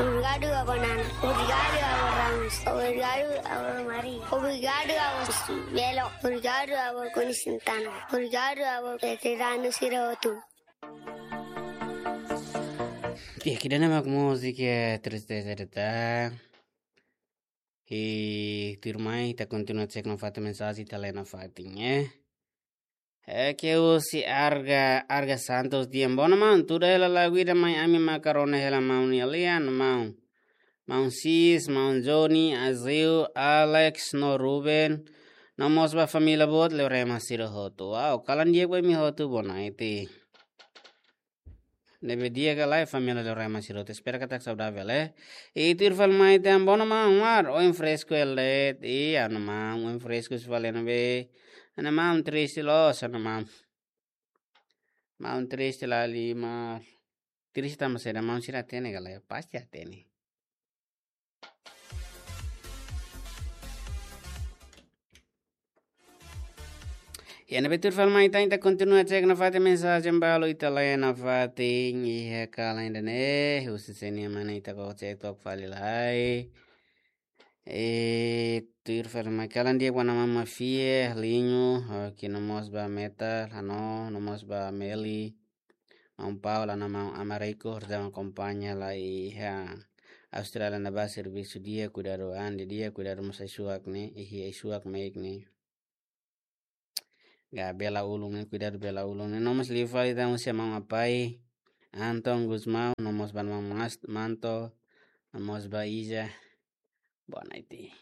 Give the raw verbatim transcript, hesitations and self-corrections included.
Obrigadu, avó Nana. Obrigadu, avó Ramos. Obrigadu, avó Mari. Obrigadu, avó Belo. Obrigadu, avó Konisintana. Obrigadu, avó veteranu sira hotu. Ita-nia mak múzika Tristeza de Ta. I tuirmai ita kontinua cek nafatin mensajen ita lee nafatin, eh. É que o se Arga, Arga Santos di'ak, bom, maun, tuda hela lagu ida mai ami maka rona hela maun nia lian, maun. Maun Sis, maun Johnny, Azeu, Alex, no Ruben. No mós ba família boot, Leorema sira hotu. Wow, kalan di'ak ba imi hotu, bonaiti. Ne'ebé di'ak ka lae família Leorema sira hotu, espera katak saudavel, eh. I tuir fali mai ita-nia bom, maun Umar, oin fresku hela de'it, i anu maun, oin fresku fali ne'ebé. Anu maun triste loos, anu maun. Maun triste la lima. Triste tanba saida, maun sira hatene ka lae, pasti hatene. I ne'ebé tuir fali mai ita, ita kontinua cek nafatin mensajen balu ita lee nafatin, iha kalan ida-ne'e, husi C N M ne'e ita koko cek took fali lai. I tuir fali mai kalan di'ak ba maun Mafia, Linho, eh, ke no mós ba Metal, Hano, no mós ba Meli. Maun Paula, no maun Américo, horizaun akompaña lai iha Austrália ne'ebá servisu di'ak, kuidadu an di'ak, kuidadu mós ai-suak ne'e, iha ai-suak meik ne'e. Ga bela ulun ne'e, kuidadu bela ulun ne'e. No mós liu fali ita husi maun Apai, Anton Gusmão, no mós ba maun Mas-, Manto, no mós ba Iza. Bonaiti.